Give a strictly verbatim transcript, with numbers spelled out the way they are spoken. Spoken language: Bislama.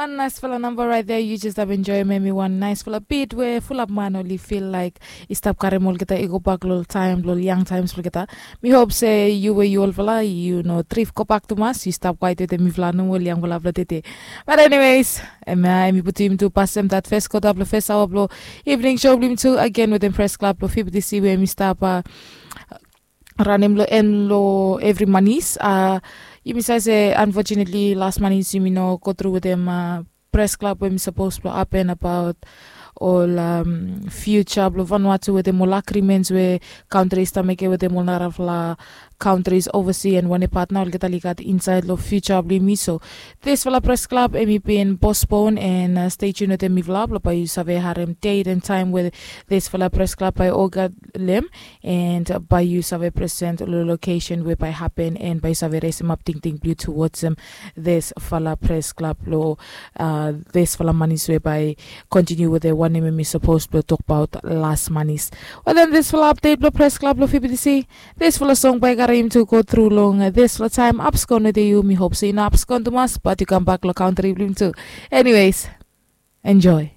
Wan naisfala namba rait dea, yu jes stap enjoim em i wan naisfala bit we fulap man oli fil laik i stap karim olgeta i go bak long taim long yang taims blong olgeta. Mi hop se yu we yu olfala yu no trif go bak tumas, yu stap kwait wetem mifala nomo long yangfala blong tete. Bat eniweis, em ya em i putum tu pasem dat fes kota blong fes aoa blong evening show blong yumi tu agen wetem pres klab blong fibitisi we em i stap ranem long en long evri manis. Yumi save se unfortunately las manis yumi no go tru wetem pres klab we mi sapos blong hapen abaot ol fiuja blong Vanuatu wetem ol agrimens we kantri i stap mekem wetem ol narafala kantris ovasi en wanem pat nao olgeta oli gat insaed long fiuja blong yumi. So disfala pres klab em i bin pospon en stei tun wetem mifala blong bae yu save harem det en taem we disfala pres klab bae olgeta lem, en bae yu save present long lokesen we bae hapen en bae yu save resemap tingting blong yu tuwodsem disfala pres klab long disfala manis we bae kontiniu wetem wanem em i sapos blong tokbaot las manis. Wetem disfala apdet blong pres klab long fibitisi, disfala song bae i karim yumi tu go tru long disfala taem. Apskon wetem yu, mi hop se yu no apskon tumas bat yu kambak long kantri blong yumi tu. Eniweis, enjoe.